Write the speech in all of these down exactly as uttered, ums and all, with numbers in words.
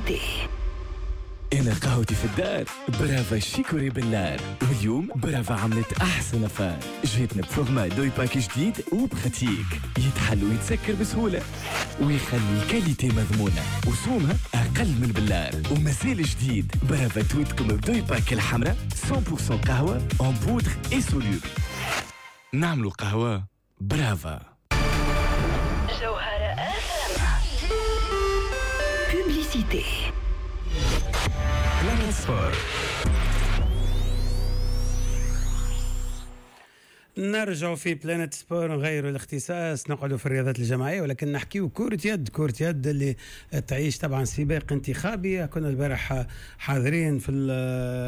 Publicité. انا قهوتي في الدار برافا شيكوري بالنار، واليوم برافا عملت احسن affaire. جاتنا ب format doypack جديد و pratique، يتحل ويتسكر بسهولة ويخلي ال qualité مضمونه وسومها اقل من البلار ومازال جديد. برافا توتكم ب doypack الحمراء مية بالمية قهوة en poudre et soluble. نعملوا قهوة برافا. جوهرة Publicité. Sport. نرجع في Planète Sport، نغيروا الاختصاص، نقعدوا في الرياضات الجماعية ولكن نحكيو كرة يد. كرة يد اللي تعيش طبعا سباق انتخابي. كنا البارح حاضرين في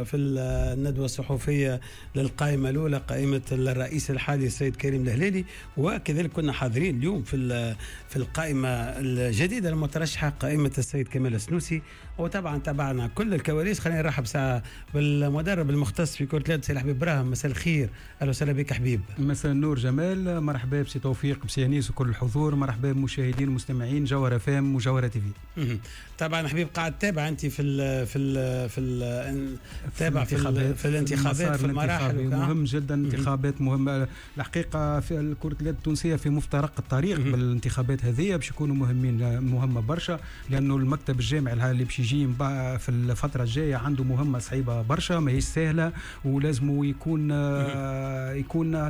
في الندوة الصحفية للقائمه الاولى، قائمة الرئيس الحالي السيد كريم الهلالي، وكذلك كنا حاضرين اليوم في في القائمة الجديدة المترشحه، قائمة السيد كمال السنوسي، وطبعا تابعنا كل الكواليس. خلينا نرحب ساعة بالمدرب المختص في كرة اليد سي الحبيب ابراهيم. مساء الخير، اهلا وسهلا بك حبيب. مساء النور جمال، مرحبا بسي توفيق، بسي انيس وكل الحضور، مرحبا بمشاهدين ومستمعين جوهرة اف ام وجوهرة تي في. طبعا حبيب قاعد تابع انت في ال في ال في ال تابع في, في الانتخابات، في المراحل. مهم جدا انتخابات مهمة الحقيقة في كره اليد التونسية، في مفترق الطريق بالانتخابات هذه باش يكونوا مهمين، مهمة برشا، لانه المكتب الجامعي اللي باش يجي في الفترة الجاية عنده مهمة صعيبة برشا، ماهيش سهلة، ولازم يكون يكون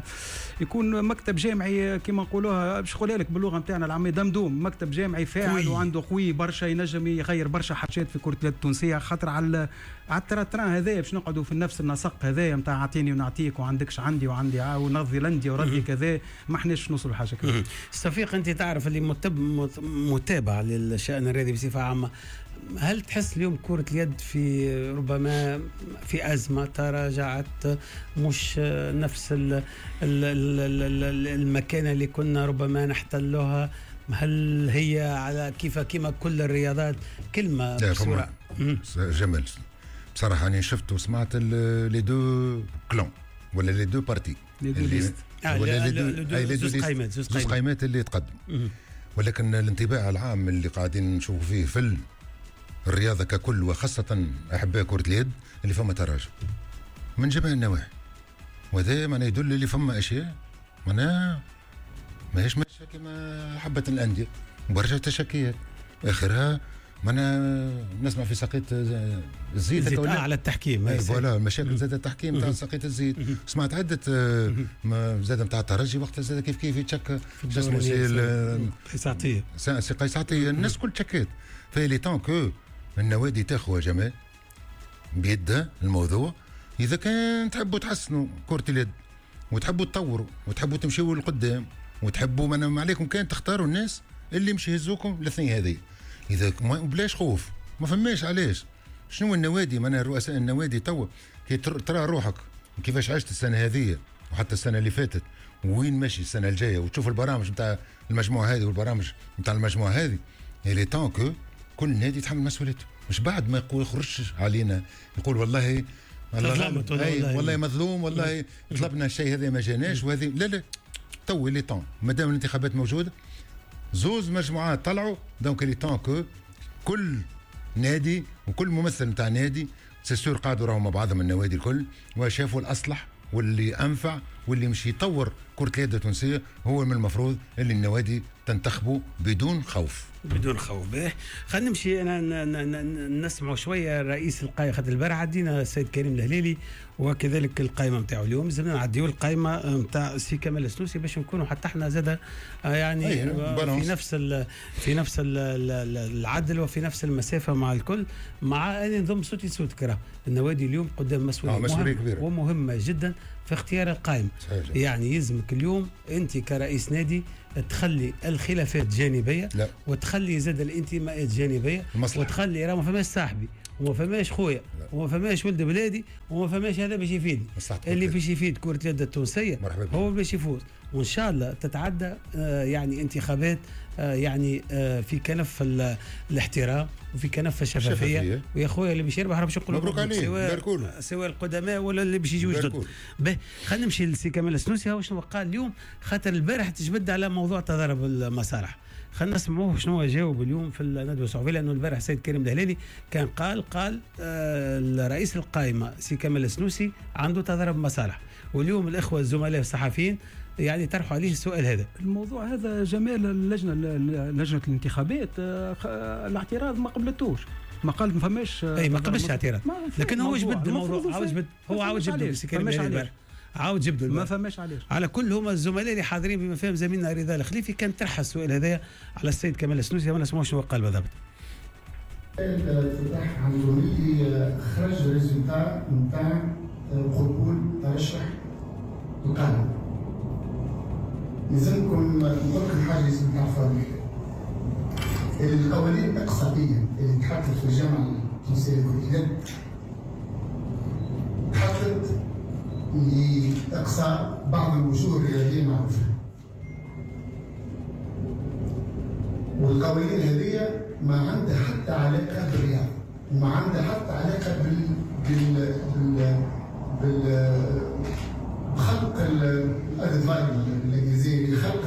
يكون مكتب جامعي كما نقولوها، باش نقولها لك باللغة نتاعنا العامية، دمدوم، مكتب جامعي فاعل وعنده قوي برشا، ينجم يغير برشا حاجات في كره اليد التونسية. خاطر على على ال train هذايا باش نقعدوا في نفس النسق هذايا نتاع اعطيني ونعطيك وعندكش عندي وعندي ونرضي لندي ورضي كذا، ما احناش نوصلوا لحاجة كذا. توفيق، انت تعرف اللي متابع للشان الرياضي بصفة عامة، هل تحس اليوم كرة اليد في ربما في أزمة، تراجعت، مش نفس ال ال ال المكانة اللي كنا ربما نحتلها؟ هل هي على كيف كما كل الرياضات؟ كلمة بسرعة جمال. بصراحة أنا شفت وسمعت les deux clans ولا les deux partis، ولا les deux زوج قائمات، زوج قائمات اللي تقدم، ولكن الانطباع العام اللي قاعدين نشوفوا فيه في الرياضة ككل وخاصة أحباء كرة اليد اللي فما تراجع من جميع النواحي، وهذا معناه يدل اللي فما أشياء معناها ماهيش ماشية كما حبت الأندية، برشا تشكيات آخرها معناها نسمع في سقيط الزيت آه على التحكيم، voilà مشاكل زاد التحكيم تاع سقيط الزيت. سمعت عدة زاد نتاع الترجي وقتها زاد كيف كيف يتشك اسمه سي قيس عطية، سي قيس عطية، الناس كل تشكات. ف il est temps que النوادي تاخذ جمال بيدها الموضوع. اذا كان تحبوا تحسنوا كرة اليد وتحبوا تطوروا وتحبوا تمشيوا لقدام وتحبوا ما عليكم كان تختاروا الناس اللي مش يهزوكم الاثنين هذه. اذا بلاش خوف، ما فماش علاش. شنو النوادي معناها رؤساء النوادي توا كي ترى روحك كيفاش عشت السنة هذه وحتى السنة اللي فاتت وين ماشي السنة الجاية، وتشوف البرامج نتاع المجموعة هذه والبرامج نتاع المجموعة هذه، il est temps que كل نادي يتحمل مسؤوليته، مش بعد ما يقول يخرجش علينا يقول والله والله, والله مظلوم، والله طلبنا الشيء هذا ما جاناش وهذه. لا لا، تو il est temps مادام الانتخابات موجودة، زوز مجموعات طلعوا، donc il est temps que كل نادي وكل ممثل نتاع نادي c'est sûr قعدوا راهم مع بعضهم النوادي الكل وشافوا الاصلح واللي انفع واللي مش يطور كرة اليد التونسية، هو من المفروض اللي النوادي تنتخبه بدون خوف. بدون خوف. به خلينا نمشي انا نسمعوا شوية رئيس القائمة، خاطر البارح عدينا السيد كريم الهلالي وكذلك القائمة نتاعو، اليوم لازمنا نعديو القائمة نتاع سي كمال السنوسي باش نكونوا حتى احنا زاد يعني في نفس ال في نفس ال العدل وفي نفس المسافة مع الكل، مع ان نضم صوتي صوتك. راه النوادي اليوم قدام مسؤولية مهمة كبيرة ومهمة جدا في اختيار القائمة. يعني يلزمك اليوم انت كرئيس نادي تخلي الخلافات جانبيه، لا. وتخلي زاد الانتماءات جانبيه، المصلحة. وتخلي راه ما فماش صاحبي وما فماش خويا وما فماش ولد بلادي وما فماش هذا باش يفيدني. اللي باش يفيد كرة اليد التونسية هو باش يفوز، وان شاء الله تتعدى آه يعني انتخابات آه يعني آه في كنف الاحترام وفي كنف الشفافية. ويا خويا اللي باش يربح راه باش نقولوا مبروك عليه، سواء سواء القدماء ولا اللي باش يجيو جدد. به خلينا نمشي لسي كمال السنوسي، هو شنو قال اليوم، خاطر البارح تجبد على موضوع تضارب المصالح. خلينا نسمعوه شنو جاوب اليوم في الندوة الصحفية، لانه البارح السيد كريم الهلالي كان قال قال آه رئيس القائمة سي كمال السنوسي عنده تضارب مصالح، واليوم الاخوة الزملاء الصحفيين يعني طرحوا عليه السؤال هذا. الموضوع هذا جمال اللجنة لجنة الانتخابات الاعتراض ما قبلتوش، ما قال ما فماش، اي ما قبلش اعتراض، لكن هو جبد الموضوع، عاود جبد هو عاود جبد سي كريم الهلالي عاود جبدوا ما فماش علاش. على كل هما الزملاء اللي حاضرين بما فيهم زميلنا رضا الخليفي كان طرح السؤال هذايا على السيد كمال السنوسي، ما نسمعوش شنو قال بالضبط. فتح عنده اللي خرج résultat نتاع قبول ترشح القائمة. لازمكم نقول لكم حاجة لازم تعرفوها مليح. القوانين الاقصائية اللي تحطت في الجامعة التونسية لكرة اليد تحطت لإقصاء بعض الوجوه الرياضية المعروفة. والقوانين هذه ما عندها حتى علاقة بالرياضة، وما عندها حتى علاقة بال بال بال بال بخلق ال added value بالانجليزية، لخلق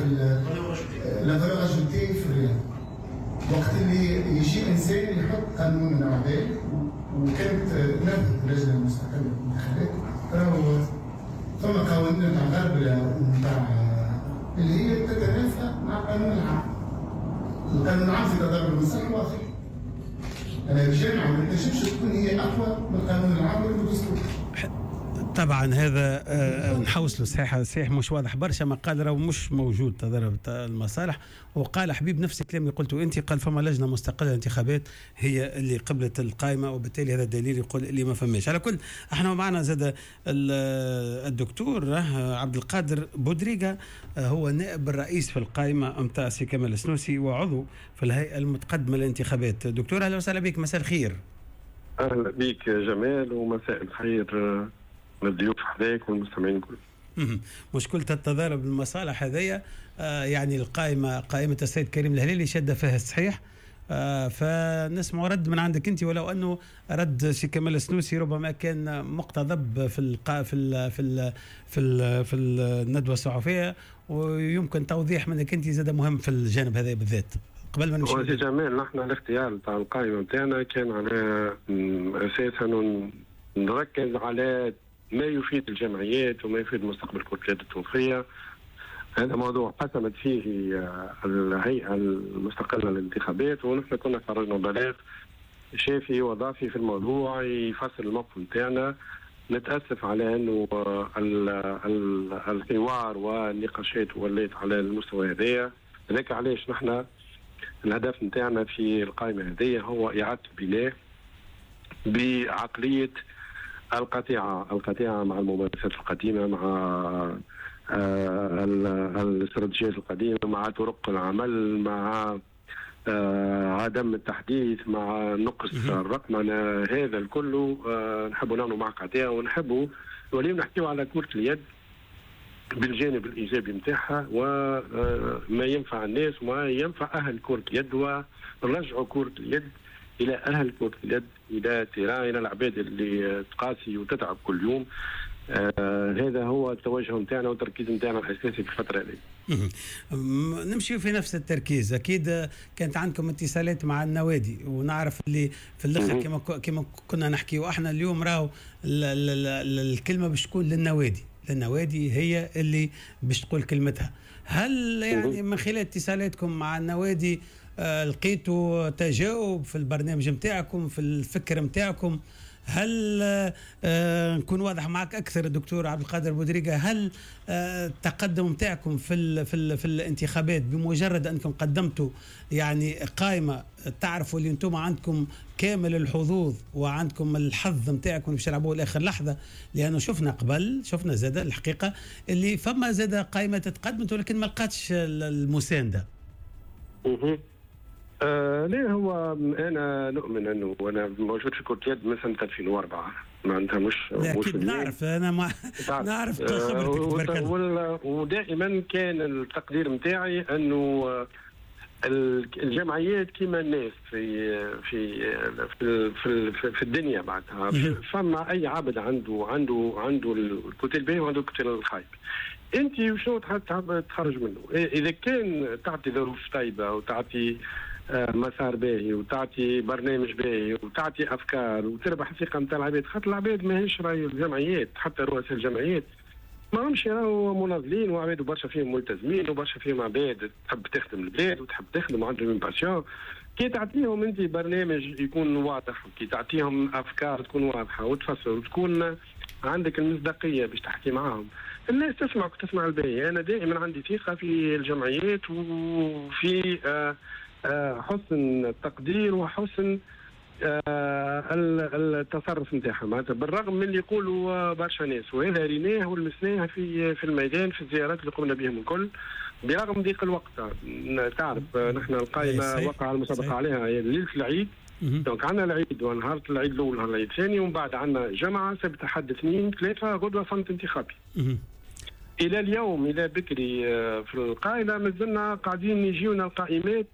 la valeur ajoutée في الرياضة. وقت اللي يجي انسان يحط قانون نوع ذلك، وكانت نفذت اللجنة المستقلة للانتخابات، راهو ثم قوانين نتاع الغرب ونتاع اللي هي تتنافى مع القانون العام. القانون العام في تضارب المصالح واضح. أنا الجامعة ما تنجمش تكون هي أقوى من القانون العام ولا الدستور. طبعا هذا نحوصله صحيح صحيح مش واضح برشا، ما قال راهو مش موجود تضارب المصالح، وقال حبيب نفس الكلام اللي قلته انت، قال فما لجنة مستقلة للانتخابات هي اللي قبلت القائمة، وبالتالي هذا الدليل يقول اللي ما فماش. على كل احنا معنا زاد الدكتور عبد القادر بودريقه، هو نائب الرئيس في القائمة نتاع سي كمال السنوسي وعضو في الهيئة المتقدمة للانتخابات. دكتور اهلا وسهلا بك، مساء الخير. اهلا بك جمال ومساء الخير للضيوف حذاك والمستمعين الكل. مشكلة التضارب المصالح هذيا آه يعني القائمة قائمة السيد كريم الهلالي شادة فيها الصحيح، آه فنسمع رد من عندك أنت، ولو أنه رد سي كمال السنوسي ربما كان مقتضب في القا في ال في ال في ال في الندوة الصحفية، ويمكن توضيح منك أنت زاد مهم في الجانب هذا بالذات قبل ما نمشي. سي جمال، نحن الاختيار تاع القائمة نتاعنا كان على أساس أنه نركز على ما يفيد الجمعيات وما يفيد مستقبل كرة اليد التونسية. هذا موضوع قسمت فيه الهيئة المستقلة للانتخابات، ونحن كنا خرجنا بلاغ شافي وضافي في الموضوع يفصل الموقف نتاعنا. نتأسف على أنه الحوار والنقاشات ولات على المستوى هذايا. هذاك علاش نحن الهدف نتاعنا في القائمة هذه هو إعادة البناء بعقلية القطيعة، القطيعة مع الممارسات القديمة، مع الاستراتيجيات القديمة، مع طرق العمل، مع عدم التحديث، مع نقص الرقمنة. هذا الكل نحبوا نعملوا مع قطيعة، ونحبوا واليوم نحكيو على كرة اليد بالجانب الإيجابي نتاعها وما ينفع الناس وما ينفع أهل كرة اليد، ونرجعوا كرة اليد الى اهل كرة اليد، الى terrain، الى العباد اللي تقاسي وتتعب كل يوم. آه هذا هو التوجه نتاعنا والتركيز نتاعنا الاساسي في الفترة هذه. نمشي في نفس التركيز. اكيد كانت عندكم اتصالات مع النوادي، ونعرف اللي في الاخر كما كما كنا نحكي واحنا اليوم راهو الكلمة باش تكون للنوادي، للنوادي هي اللي باش تقول كلمتها. هل يعني من خلال اتصالاتكم مع النوادي لقيتوا تجاوب في البرنامج متاعكم، في الفكر متاعكم؟ هل آه نكون واضح معك أكثر دكتور عبد القادر بودريقة، هل آه التقدم متاعكم في ال في ال في الانتخابات بمجرد أنكم قدمتوا يعني قائمة تعرفوا اللي أنتم عندكم كامل الحظوظ وعندكم الحظ متاعكم باش تلعبوه لآخر لحظة؟ لأنه شفنا قبل، شفنا زاد الحقيقة اللي فما زاد قائمة تقدمت ولكن ما لقاتش المساندة. آه ليه هو انا نؤمن انه انا موجود في كرة اليد من سنة ألفين وأربعة، معناتها مش مش نعرف انا ما نعرف خبرتك تبارك الله. ودائما كان التقدير نتاعي انه الجمعيات كما الناس في في في في, في, في الدنيا معناتها فما اي عبد عنده عنده عنده ال côté الباهي وعنده ال côté الخايب. انت وشنو تحب تخرج منه. اذا كان تعطي ظروف طيبة وتعطي مسار باهي وتعطي برنامج باهي وتعطي افكار وتربح الثقة نتاع العباد، خاطر العباد ماهيش راي الجمعيات، حتى رؤساء الجمعيات ما همش راهو مناضلين، وعباد برشا فيهم ملتزمين وبرشا فيهم عباد تحب تخدم البلاد وتحب تخدم وعندهم passion. كي تعطيهم انت برنامج يكون واضح، وكي تعطيهم افكار تكون واضحة وتفسر وتكون عندك المصداقية باش تحكي معاهم، الناس تسمعك وتسمع الباهي. انا دائما عندي ثقة في الجمعيات وفي آه حسن التقدير وحسن التصرف نتاعهم، معناتها بالرغم من اللي يقولوا برشا ناس، وهذا ريناه ولمسناه في في الميدان في الزيارات اللي قمنا بهم الكل، برغم ضيق الوقت. تعرف نحن القائمة وقع المسابقة عليها ليلة العيد، donc عندنا العيد ونهار العيد الاول ونهار العيد الثاني، ومن بعد عندنا جمعه سبت احد اثنين ثلاثة غدوه صمت انتخابي. الى اليوم الى بكري في القائله مازلنا قاعدين يجيونا القائمات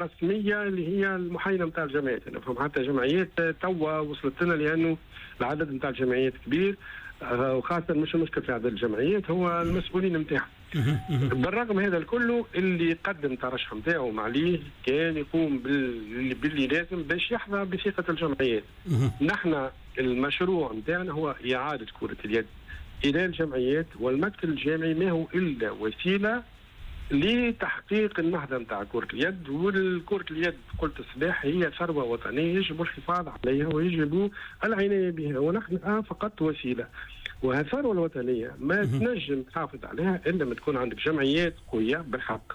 رسمية اللي هي المحاينه نتاع الجمعيات. نفهم حتى جمعيات توا وصلت لنا لانه العدد نتاع الجمعيات كبير، وخاصة مش المشكل في عدد الجمعيات هو المسؤولين نتاعهم. بالرغم هذا الكل اللي قدم ترشح نتاعو معليه كان يقوم باللي لازم باش يحظى بثقة الجمعيات. نحن المشروع نتاعنا هو اعاده كره اليد إلى الجمعيات، والمكتب الجامعي ما هو إلا وسيلة لتحقيق النهضة نتاع كرة اليد. والكرة اليد قلت الصباح هي ثروة وطنية يجب الحفاظ عليها ويجب العناية بها، ونحن فقط وسيلة. وهالثروة الوطنية ما تنجم تحافظ عليها إلا ما تكون عندك جمعيات قوية بالحق،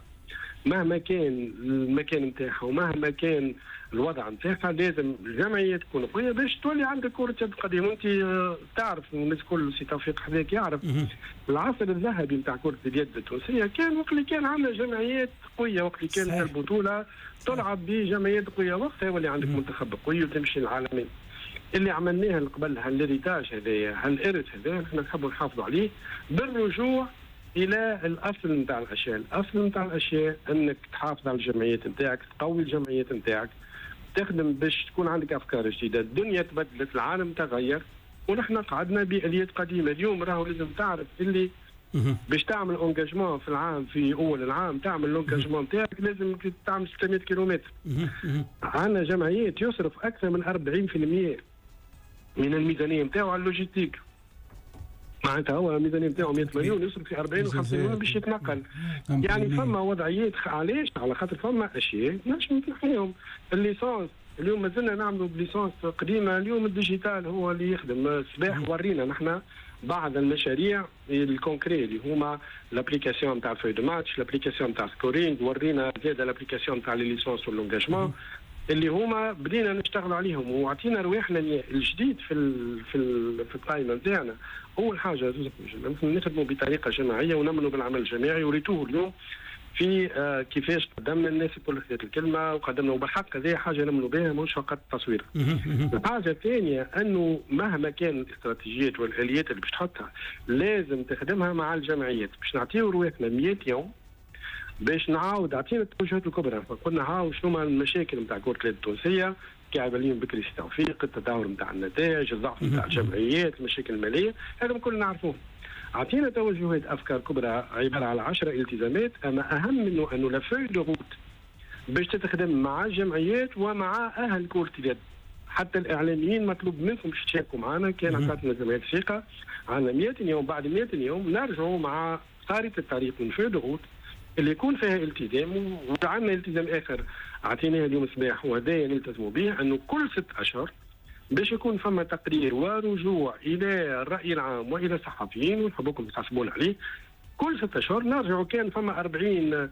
مهما كان المكان نتاعها ومهما كان الوضع نتاعها لازم الجمعية تكون قوية باش تولي عندك كره يد قديمة. وانت تعرف الناس الكل، سي توفيق حذاك يعرف العصر الذهبي نتاع كره اليد التونسية كان وقت اللي كان عندنا جمعيات قوية، وقت اللي كانت البطولة تلعب بجمعيات قوية، وقتها يولي عندك منتخب قوي وتمشي العالمي. اللي عملناه قبل هال héritage هذايا هالارث هذايا نحن نحبوا نحافظوا عليه بالرجوع الى الاصل نتاع الاشياء. الاصل نتاع الاشياء انك تحافظ على الجمعيات نتاعك، تقوي الجمعيات نتاعك، تخدم باش تكون عندك افكار جديدة. الدنيا تبدلت، العالم تغير، ونحن قعدنا باليات قديمة. اليوم راهو لازم تعرف اللي باش تعمل engagement في العام، في اول العام تعمل l'engagement نتاعك لازم تعمل ستمية كيلومتر. عندنا جمعيات يصرف اكثر من أربعين بالمية من الميزانية نتاعو على ال logistique. معناتها هو الميزانية نتاعو مية مليون يصرف في أربعين وخمسين مليون باش يتنقل. يعني فما وضعيات، علاش؟ على خاطر فما اشياء نجم نحيهم. ال licence اليوم مازلنا نعملوا ب licence قديمة، اليوم ال digital هو اللي يخدم. الصباح ورينا نحن بعض المشاريع ال concrets اللي هما l'application نتاع feuille de match، l'application نتاع scoring، ورينا زاد l'application نتاع les licences و l'engagement اللي هما بدينا نشتغلوا عليهم وعطينا رواحنا الجديد في ال في ال في القائمة نتاعنا. اول حاجة نخدموا بطريقة جماعية ونمنوا بالعمل الجماعي، وريتوه اليوم في آه كيفاش قدمنا الناس الكل خذت الكلمة وقدمنا، وبالحق هذه حاجة نمنوا بها مش فقط تصوير. الحاجة الثانية انه مهما كان الاستراتيجيات والاليات اللي باش تحطها لازم تخدمها مع الجمعيات باش نعطيو رواحنا مية يوم باش نعاود. عطينا التوجهات الكبرى، قلنا هاو شنو هما المشاكل نتاع كرة اليد التونسية، كعب اليوم بكري سي توفيق، التدهور نتاع النتائج، الضعف نتاع الجمعيات، المشاكل المالية، هذا الكل نعرفوه. عطينا توجهات افكار كبرى عبارة على عشرة التزامات، اما اهم منه انه la feuille de route باش تتخدم مع الجمعيات ومع اهل كرة اليد. حتى الاعلاميين مطلوب منكم باش تشاركوا معنا. كان عطاتنا جمعيات الثقة عندنا مية يوم، بعد مية يوم نرجعوا مع خارطة الطريق من feuille de route اللي يكون فيها التزام. وعندنا التزام اخر اعطيناه اليوم الصباح وهذايا نلتزموا به، انه كل ست اشهر باش يكون فما تقرير ورجوع الى الراي العام والى الصحفيين، ونحبكم تحاسبون عليه. كل ست اشهر نرجعوا. كان فما أربعين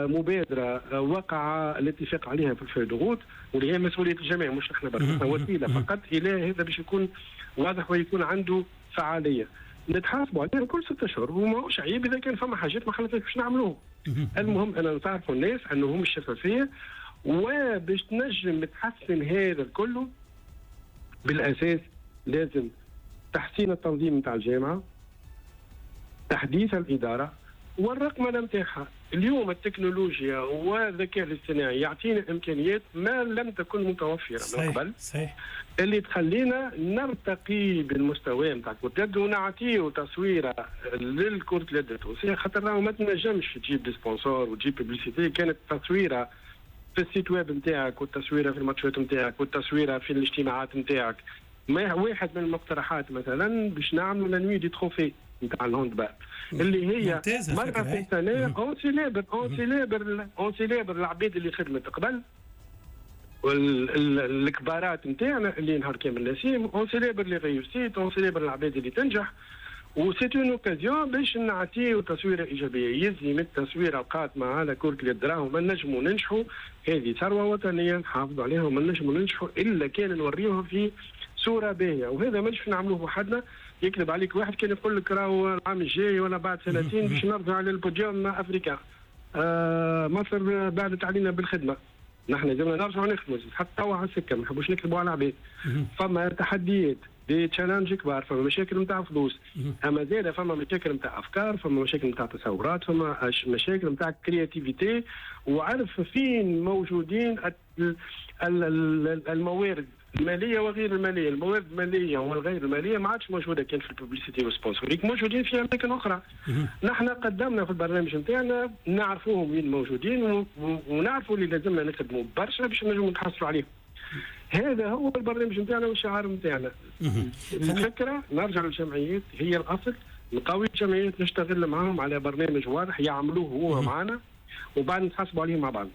مبادرة وقع الاتفاق عليها في ال feuille de route، واللي هي مسؤولية الجميع مش احنا برك، وسيلة فقط الى هذا باش يكون واضح ويكون عنده فعالية. نتحاسبوا عليها كل ست اشهر، وماهوش عيب اذا كان فما حاجات ما خلتناش باش نعملوهم. المهم انا نعرفوا الناس انه هم الشفافية، وباش تنجم تحسن هذا الكل بالاساس لازم تحسين التنظيم نتاع الجامعة، تحديث الادارة والرقمنه نتاعها. اليوم التكنولوجيا والذكاء الاصطناعي يعطينا امكانيات ما لم تكن متوفرة من قبل. صحيح. اللي تخلينا نرتقي بالمستوى نتاع كرة اليد ونعطيه تصويره للكرة اليد التونسية، خاطر راهو ما تنجمش تجيب des sponsors وتجيب publicité كانت تصويره في ال site web نتاعك والتصويره في الماتشات نتاعك والتصويره في الاجتماعات نتاعك. ما واحد من المقترحات مثلا باش نعملوا la nuit des trophées نتاع ال handball اللي هي مرة في السنة on célèbre on célèbre on célèbre العباد اللي خدمت قبل والكبارات نتاعنا اللي نهار كامل نسيم، on célèbre les réussites، on célèbre العباد اللي تنجح، و c'est une occasion باش نعطيو تصويره ايجابية. يزي من التصويره القاتمه على كره اليد، راهو ما نجموا ننجحوا، هذه ثروة وطنية نحافظوا عليها وما نجموا ننجحوا الا كان نوريوها في صوره باهيه، وهذا مش نعملوه وحدنا. يكذب عليك واحد كان يقول لك راهو العام الجاي ولا بعد سنتين باش نرجع لل podium africain. آه مصر بعدت علينا بالخدمة، نحن لازمنا نرجعوا نخدموا حتى توا على السكة، ما نحبوش نكذبوا على العباد. فما تحديات، des challenges كبار، فما مشاكل نتاع فلوس، اما زاده فما مشاكل نتاع افكار، فما مشاكل نتاع تصورات، فما مشاكل نتاع créativité، وعرف فين موجودين الموارد المالية وغير المالية. الموارد المالية والغير المالية ما عادش موجودة كان في ال publicité وال sponsoring، موجودين في اماكن اخرى. نحن قدمنا في البرنامج نتاعنا نعرفوهم وين موجودين ونعرفوا اللي لازمنا نخدموا برشا باش نجموا نتحصلوا عليهم. هذا هو البرنامج نتاعنا والشعار نتاعنا. الفكرة نرجع للجمعيات هي الاصل، نقوي الجمعيات، نشتغل معاهم على برنامج واضح يعملوه هو معنا وبعد نتحاسبوا عليه مع بعض.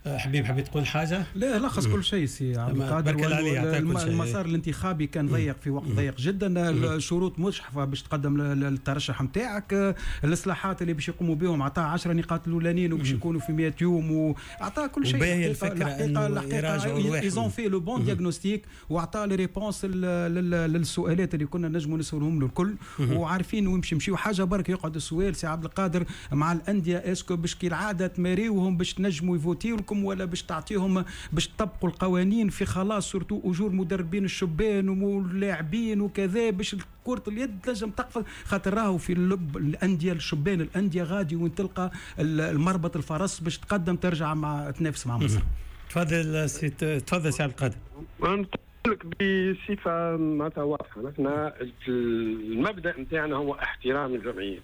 حبيب حبيت تقول حاجة؟ لا لخص كل شيء سي عبد القادر. المسار الانتخابي كان ضيق في وقت ضيق جدا، الشروط مجحفه باش تقدم الترشح نتاعك، الاصلاحات اللي باش يقوموا بهم عطاه عشرة نقاط الاولانيين وباش يكونوا في مئة يوم، وعطاه كل شيء. الحقيقة الحقيقة ils ont fait le bon diagnostic وعطاه les réponses للسؤالات اللي كنا نجموا نسالهم له الكل، وعارفين وين باش يمشيو. حاجة برك يقعد السؤال سي عبد القادر مع الاندية، est-ce que باش كي العادة تماريوهم باش تنجموا يفوتيو لكم ولا باش تعطيهم باش تطبقوا القوانين في خلاص surtout اجور مدربين الشبان واللاعبين وكذا باش كرة اليد تنجم تقفز، خاطر راهو في اللب الاندية الشبان الاندية غادي وين تلقى المربط الفرس باش تقدم ترجع مع تنافس مع مصر. تفضل سي تفضل سي عبد القادر. نقول لك بصفة معناتها واضحة، نحن المبدا نتاعنا هو احترام الجمعيات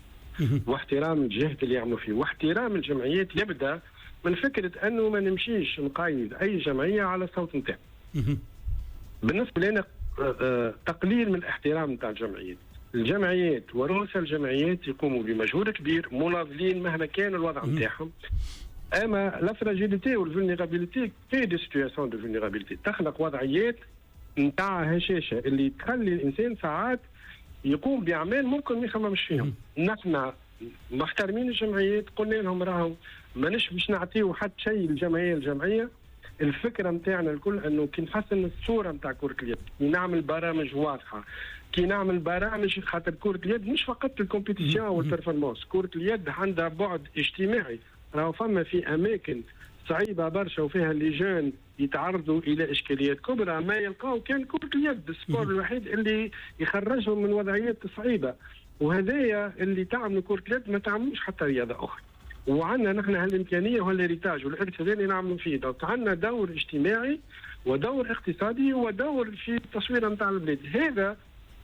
واحترام الجهد اللي يعملوا فيه، واحترام الجمعيات يبدا من فكرة انه ما نمشيش نقيد اي جمعية على الصوت نتاعها. بالنسبة لنا تقليل من الاحترام نتاع الجمعيات. الجمعيات ورؤساء الجمعيات يقوموا بمجهود كبير، مناضلين مهما كان الوضع نتاعهم. اما la fragilité وال vulnérabilité في des situations de vulnérabilité تخلق وضعيات نتاع هشاشة اللي تخلي الانسان ساعات يقوم باعمال ممكن ما يخممش فيهم. نحن محترمين الجمعيات، قلنا لهم راهو مانيش باش نعطيو حتى شيء للجمعية. الجمعية الفكرة نتاعنا الكل انه كي نحسن الصورة نتاع كره اليد، كي نعمل برامج واضحة، كي نعمل برامج، خاطر كره اليد مش فقط ال compétition وال performance، كره اليد عندها بعد اجتماعي. راهو فما في اماكن صعيبة برشا وفيها les jeunes يتعرضوا الى اشكاليات كبرى ما يلقاو كان كره اليد، ال sport الوحيد اللي يخرجهم من وضعيات صعيبة، وهذايا اللي تعملوا كره اليد ما تعملوش حتى رياضة اخرى. وعندنا نحن هالامكانيه وهال héritage والارث هذا اللي نعملوا فيه. donc عندنا دور اجتماعي ودور اقتصادي ودور في التصوير نتاع البلاد، هذا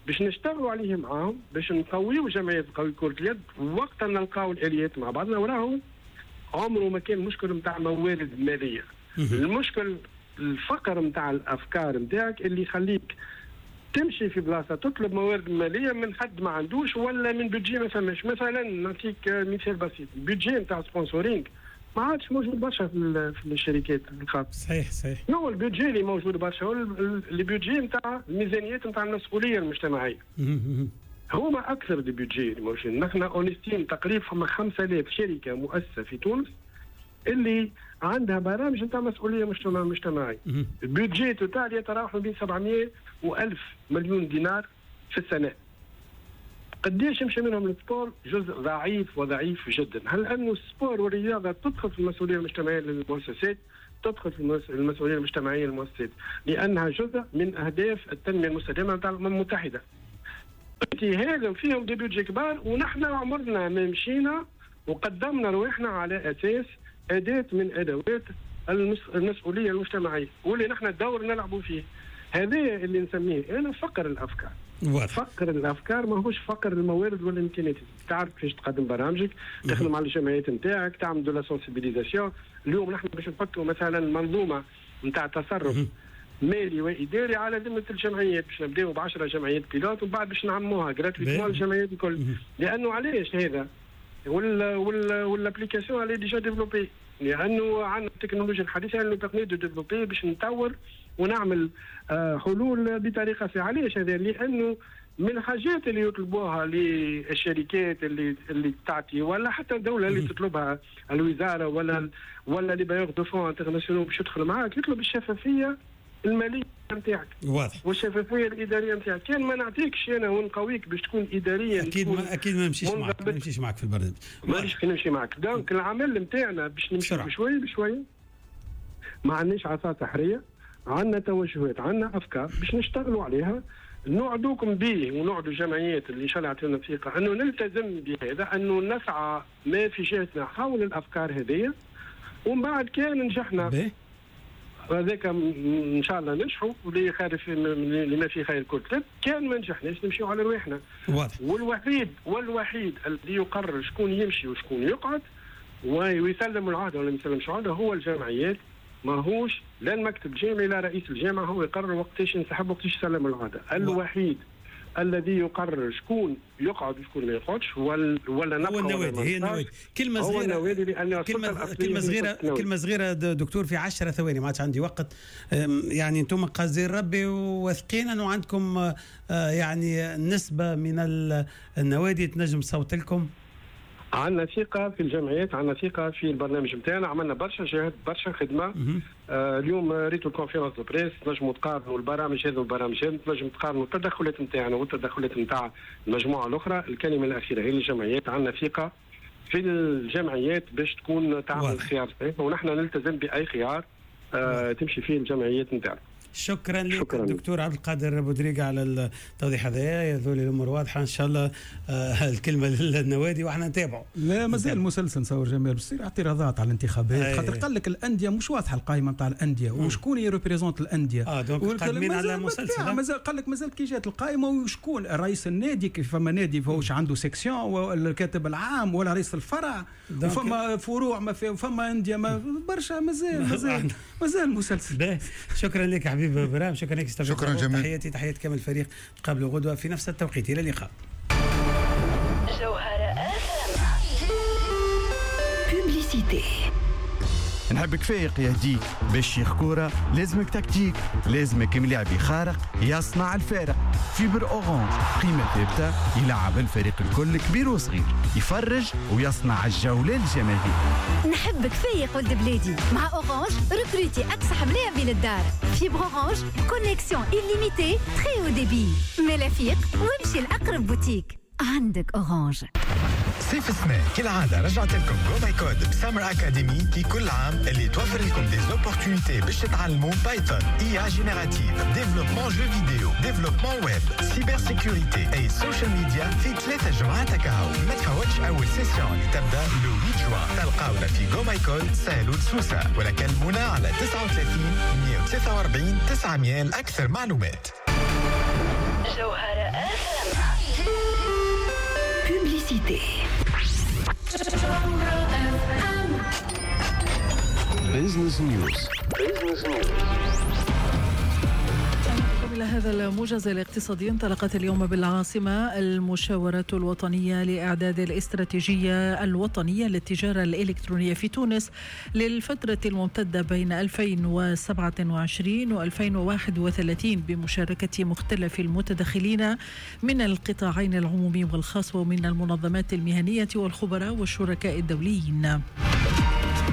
باش نشتغلوا عليه معاهم باش نقويوا جمعية قوي كره اليد وقت نلقاو الاليات مع بعضنا. وراهم عمره ما كان مشكل نتاع موارد ماليه، المشكل الفقر نتاع الافكار نتاعك اللي يخليك تمشي في بلاصة تطلب موارد ماليه من حد ما عندوش ولا من budget ما فماش. مثلا نعطيك مثال بسيط، ال budget نتاع sponsoring ما عادش موجود برشا في في الشركات الخاصة. صحيح صحيح. هو ال budget اللي موجود برشا هو ال budget نتاع الميزانيات نتاع المسؤولية المجتمعية. هما اكثر des budgets اللي موجودين. نحن on estime تقريبا فما خمسة آلاف شركة مؤسسة في تونس اللي عندها برامج نتاع مسؤولية مجتمعية. ال budget total يتراوح ما بين سبعمية وألف مليون دينار في السنة. قديش يمشي منهم لل sport؟ جزء ضعيف وضعيف جدا. هل انه ال sport والرياضة تدخل في المسؤولية المجتمعية للمؤسسات؟ تدخل في المسؤولية المجتمعية للمؤسسات لانها جزء من اهداف التنمية المستدامة نتاع الامم المتحدة. هذا فيهم des budgets كبار ونحن عمرنا ما مشينا وقدمنا رواحنا على اساس اداه من ادوات المسؤولية المجتمعية واللي نحن الدور نلعبوا فيه. هذا اللي نسميه انا فقر الافكار. واضح. فقر الافكار ماهوش فقر الموارد والامكانيات. تعرف كيفاش تقدم برامجك، تخدم على الجمعيات نتاعك، تعمل de la sensibilisation. اليوم نحن باش نحطوا مثلا منظومة نتاع تصرف مالي واداري على ذمه الجمعيات، باش نبداو ب عشرة جمعيات pilotes ومن بعد باش نعموها gratuitement للجمعيات الكل. لانه علاش هذا؟ وال وال وال application elle est déjà développée، لانه عندنا التكنولوجيا الحديثة اللي permet de développer باش نطور ونعمل حلول بطريقة سهلة. علاش هذا؟ لانه من الحاجات اللي يطلبوها للشركات اللي اللي تعطي ولا حتى الدولة اللي تطلبها الوزارة ولا ولا les bailleurs de fonds internationaux باش يدخل معاك، يطلب الشفافية المالية نتاعك واضح والشفافيه الادارية نتاعك. كان ما نعطيكش انا ونقويك باش تكون اداريا اكيد ما اكيد ما نمشيش معك ما نمشيش معك في البرنامج، مانيش نمشي معك. donc العمل نتاعنا باش نمشي بشوية بشوية، ما عندناش عصا سحريه، عندنا توجهات، عندنا افكار باش نشتغلوا عليها. نوعدوكم به ونوعدوا الجمعيات اللي ان شاء الله يعطيونا الثقة انه نلتزم بهذا، انه نسعى ما في جهتنا حول الافكار هذه، ومن بعد كان نجحنا هذاك ان شاء الله ننجحوا واللي خير في لما في خير كل. كان ما نجحناش نمشيو على رواحنا. واضح. والوحيد والوحيد الذي يقرر شكون يمشي وشكون يقعد ويسلم العهده ولا ما يسلمش العهده هو الجمعيات، ماهوش لا المكتب الجامعي لا رئيس الجامعة. هو يقرر وقتاش ينسحب وقتاش يسلم العهده. الوحيد الذي يقرر شكون يقعد وشكون ما يقعدش ولا ولا نبقى هو النوادي. هي النوادي. كلمة صغيرة كلمة كلمة صغيرة كلمة صغيرة دكتور في عشرة ثواني، ما عادش عندي وقت. يعني انتم قاصدين ربي وواثقين انه عندكم يعني نسبه من النوادي تنجم تصوت لكم؟ عندنا ثقة في الجمعيات، عندنا ثقة في البرنامج نتاعنا، عملنا برشا جهد برشا خدمة. آه اليوم ريتو ال conférence de presse، تنجموا تقارنوا البرامج هذا والبرامج هذا، تنجموا تقارنوا التدخلات نتاعنا والتدخلات نتاع المجموعة الأخرى. الكلمة الأخيرة هي الجمعيات، عندنا ثقة في الجمعيات باش تكون تعمل خيار صحيح، ونحن نلتزم بأي خيار آه تمشي فيه الجمعيات نتاعنا. شكرا لك دكتور عبد القادر بودريقة على التوضيح هذا، يظل الامور واضحة ان شاء الله. آه الكلمة للنوادي واحنا نتابعه. لا مازال المسلسل نصور جمال باش تصير اعتراضات على الانتخابات، خاطر قال لك الاندية مش واضحة القائمة نتاع الاندية وشكون ي représente الاندية. اه donc قادمين على مسلسل، مازال قال لك مازال كي جات القائمة وشكون رئيس النادي، كيف فما نادي فهوش عنده section ولا الكاتب العام ولا رئيس الفرع، وفما فروع ما في وفما اندية ما برشا، مازال مازال مازال مسلسل. شكرا لك حبيبي ابراهيم، شكرا لك. شكرا جميل. تحياتي تحيات كامل الفريق، نتقابلوا غدوه في نفس التوقيت، الى اللقاء. جوهرة publicité. نحبك فايق يهديك باش شيخ كورة، لازمك تكتيك، لازمك ملاعبي خارق يصنع الفارق. fibre Orange قيمة ثابتة يلعب الفريق الكل كبير وصغير، يفرج ويصنع الجولة للجماهير. نحبك فايق ولد بلادي مع Orange، recruter اكسح ملاعبي للدار. fibre Orange connexion illimitée très haut débit. ملا فيق وامشي لاقرب بوتيك عندك Orange. صيف السنة كالعادة رجعت لكم GoMyCode ب Summer Academy كي كل عام اللي توفر لكم des opportunités باش تتعلموا Python، IA générative، développement jeux vidéo، développement web، cybersécurité et social media في ثلاثة جمعات كهو. ما تفوتش أول session اللي تبدا le ثمانية جوان. تلقاونا في GoMyCode سهلول سوسة ولا كلمونا على تسعة وثلاثين مئة وثلاثة وأربعين تسعمية لأكثر معلومات. جوهرة publicité. Business News. Business News. إلى هذا الموجز الاقتصادي. انطلقت اليوم بالعاصمة المشاورات الوطنية لإعداد الاستراتيجية الوطنية للتجارة الإلكترونية في تونس للفترة الممتدة بين ألفين وسبعة وعشرين و ألفين وواحد وثلاثين بمشاركة مختلف المتدخلين من القطاعين العمومي والخاص ومن المنظمات المهنية والخبراء والشركاء الدوليين.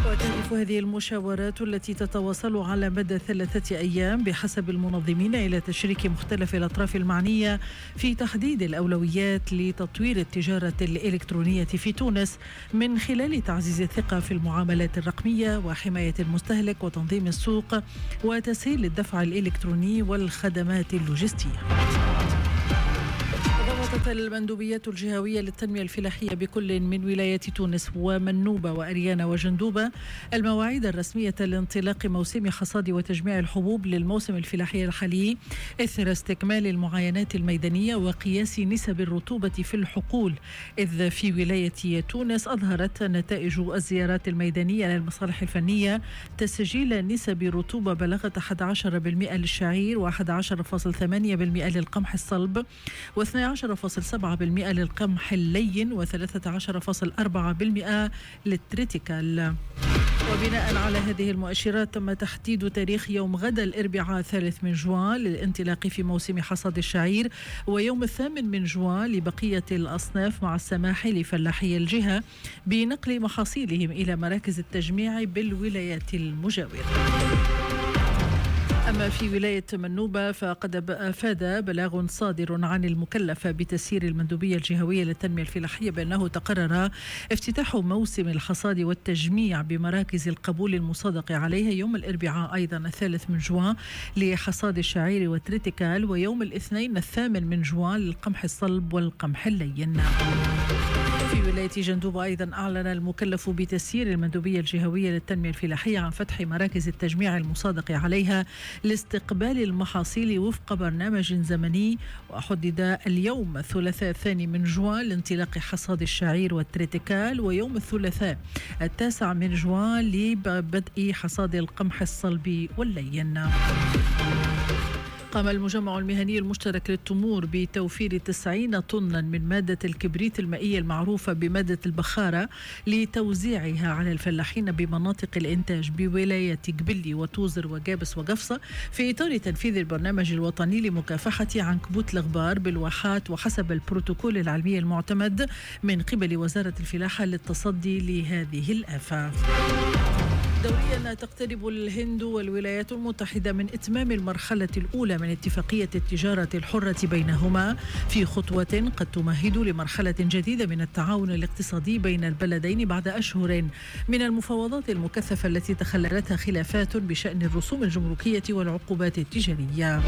وتهدف هذه المشاورات التي تتواصل على مدى ثلاثة أيام بحسب المنظمين إلى تشريك مختلف الأطراف المعنية في تحديد الأولويات لتطوير التجارة الإلكترونية في تونس من خلال تعزيز الثقة في المعاملات الرقمية وحماية المستهلك وتنظيم السوق وتسهيل الدفع الإلكتروني والخدمات اللوجستية. بسطت المندوبيات الجهوية للتنمية الفلاحية بكل من ولاية تونس ومنوبة وأريانا وجندوبة المواعيد الرسمية لانطلاق موسم حصاد وتجميع الحبوب للموسم الفلاحي الحالي إثر استكمال المعاينات الميدانية وقياس نسب الرطوبة في الحقول. إذ في ولاية تونس أظهرت نتائج الزيارات الميدانية للمصالح الفنية تسجيل نسب رطوبة بلغت أحد عشر بالمئة للشعير وأحد عشر فاصل ثمانية بالمئة للقمح الصلب واثني عشر فاصل سبعة بالمئة للقمح اللين وثلاثة عشر فاصل أربعة بالمئة للتريتيكال. وبناء على هذه المؤشرات تم تحديد تاريخ يوم غدا الأربعاء الثالث من جوان للانطلاق في موسم حصاد الشعير، ويوم الثامن من جوان لبقية الأصناف، مع السماح لفلاحي الجهة بنقل محاصيلهم إلى مراكز التجميع بالولايات المجاورة. أما في ولاية منوبة فقد أفاد بلاغ صادر عن المكلف بتسيير المندوبية الجهوية للتنمية الفلاحية بأنه تقرر افتتاح موسم الحصاد والتجميع بمراكز القبول المصادق عليها يوم الأربعاء أيضا الثالث من جوان لحصاد الشعير والتريتيكال، ويوم الاثنين الثامن من جوان للقمح الصلب والقمح اللين. في ولاية جندوبة أيضا أعلن المكلف بتسيير المندوبية الجهوية للتنمية الفلاحية عن فتح مراكز التجميع المصادق عليها لاستقبال المحاصيل وفق برنامج زمني، وحدد اليوم الثلاثاء الثاني من جوان لانطلاق حصاد الشعير والتريتيكال، ويوم الثلاثاء التاسع من جوان لبدء حصاد القمح الصلب واللين. قام المجمع المهني المشترك للتمور بتوفير تسعين طنا من مادة الكبريت المائية المعروفة بمادة البخارة لتوزيعها على الفلاحين بمناطق الإنتاج بولاية قبلي وتوزر وجابس وقفصة في إطار تنفيذ البرنامج الوطني لمكافحة عنكبوت الغبار بالواحات، وحسب البروتوكول العلمي المعتمد من قبل وزارة الفلاحة للتصدي لهذه الآفة. دوريا تقترب الهند والولايات المتحدة من إتمام المرحلة الأولى من اتفاقية التجارة الحرة بينهما، في خطوة قد تمهد لمرحلة جديدة من التعاون الاقتصادي بين البلدين بعد أشهر من المفاوضات المكثفة التي تخللتها خلافات بشأن الرسوم الجمركية والعقوبات التجارية.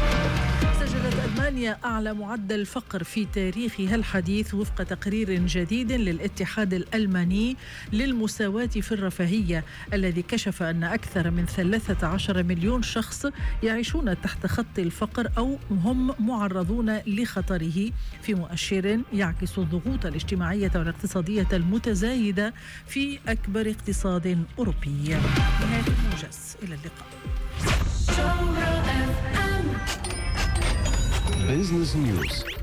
سجلت ألمانيا أعلى معدل فقر في تاريخها الحديث وفق تقرير جديد للاتحاد الألماني للمساواة في الرفاهية، الذي كشف أن أكثر من ثلاثة عشر مليون شخص يعيشون تحت خط الفقر أو هم معرضون لخطره، في مؤشر يعكس الضغوط الاجتماعية والاقتصادية المتزايدة في أكبر اقتصاد أوروبي. نهاية الموجز، إلى اللقاء. Business News.